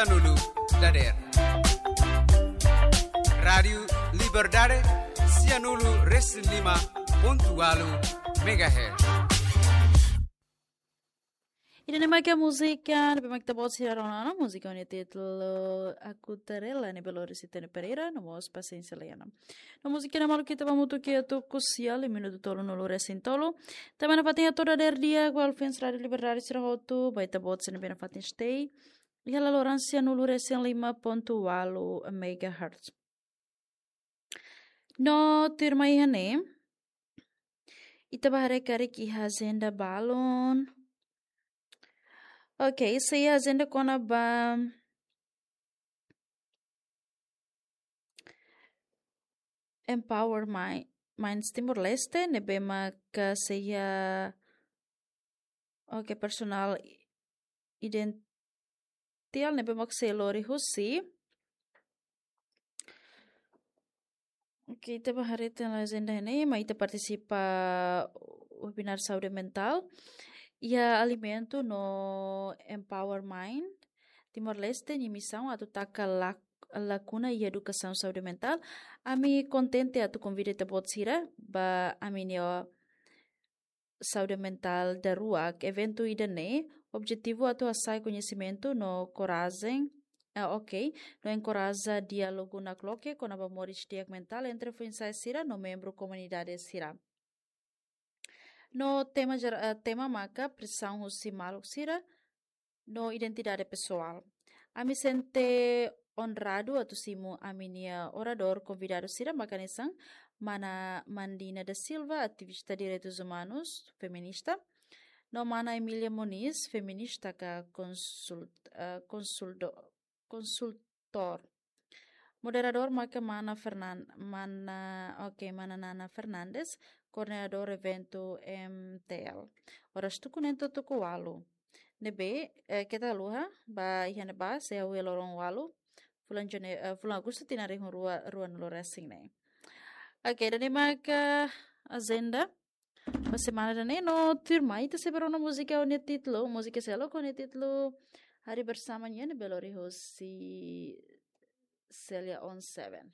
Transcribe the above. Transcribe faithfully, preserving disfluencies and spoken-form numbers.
Sianulu dader. Rádiu Liberdade, sianulu resin lima pontu ualu megahertz. Ida-ne'e mak múzika ne'ebé mak ita-boot sira rona ona, múzika ho nia títulu Aku Terela, ne'ebé lori Sitene Pereira, no mós Pasiénsia Leana. No múzika ne'e maluk ita ba hamutuk iha tuku sia, iha minutu tolunulu resin tolu. Tanba nafatin hato'o dader di'ak ba fans Rádiu Liberdade sira hotu, ba ita-boot sira ne'ebé nafatin stay iha laloran sianulu resin lima pontu ualu megahertz. No tuirmai iha ne'e, ita ba haree karik iha ajenda balun. Ok, sei iha ajenda kona-ba Empower Mi-, Minds Timor-Leste, ne'ebé maka sei iha, ok, personál identiál ne'ebé mak sei lori husi. Ok, ita ba haree tiha ona ajenda ne'e, mai ita partisipa webinar saúde mentál iha Alimenta no Empower Mind Timor-Leste nia misaun atu taka lak-, lakuna iha edukasaun saúde mentál. Ami kontente atu konvida ita-boot sira ba ami-nia saúde mentál daruak. Eventu ida-ne'e objetivu atu hasa'e koñesimentu no korajen, ah, ok, no enkoraja diálogu nakloke kona-ba moris di'ak mentál entre foin-sa'e sira no membru komunidade sira. No tema jera-, eh, tema maka presaun husi maluk sira no identidade pesoál. Ami sente onradu atu simu ami-nia oradór konvidadu sira mak hanesan Mana Mandina da Silva, ativista direitus umanus, feminista, no Mana Emília Moniz, feminista ka konsult-, eh, konsuldo-, konsultór. Moderadór maka Mana Fernan-, Mana, ok, Mana Nana Fernandes, koordenadór eventu M T L. Oras tuku neen to'o tuku ualu. Ne'ebé, eh, keta haluha, ba iha ne'ebá, sei hahú iha loron ualu, fulan Jane-, eh, fulan Agostu tinan rihun rua, ruanulu resin neen. Ok, ida-ne'e maka ajenda ba semana ida-ne'e, no tuirmai ita sei ba rona múzika ho nia títulu, múzika seluk ho nia títulu Hari Bersama nian, ne'ebé lori husi Celia on Seven.